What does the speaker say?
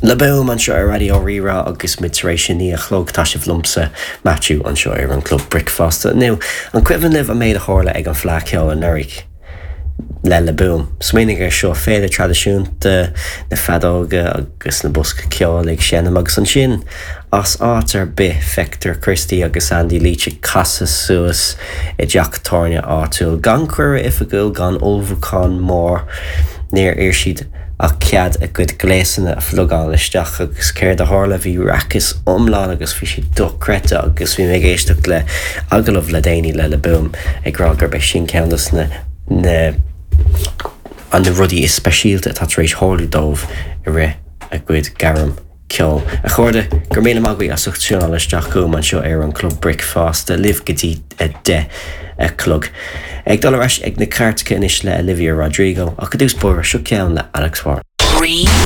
Le Boom anseo ar Raidió Rí-Rá agus muid tar éis a 9 a chlog. Tá sibh liomsa, Maitiú, anseo ar an Club Bricfeasta. Nó, an cuimhin libh an méid a tharla ag an Fleadh Cheoil anuraidh? le Le Boom. Smaoinigh air seo, féile traidisiúnta, na feadóga agus na boscaí ceoil ag seinm agus ansin, as áit ar bith, feictear Christy agus Andy Leach ag casadh suas i dteach tábhairne áitiúil. Gan cuireadh oifigiúil, gan ullmhúchán mór, níor iarr siad ach cead a gcuid gléasanna a phlugáil isteach agus céard a tharla? Bhí raiceas iomlán agus bhí sé dochreidte agus bhí mé ag éisteacht le agallamh le déanaí le Le Boom ag rá gurb é sin ceann de na na na rudaí is speisialta atá tar éis tharlú dóibh i rith a gcuid gairm ceoil. A chairde, go raibh míle maith agaibh as ucht tiúnáil isteach chugam anseo ar an Club Bricfeasta, libh go dtí 10 a chlog. Ag dul ar ais ag na cairteacha anois le Olivia Rodrigo, ach i dtús báire, seo ceann le Alex Warren.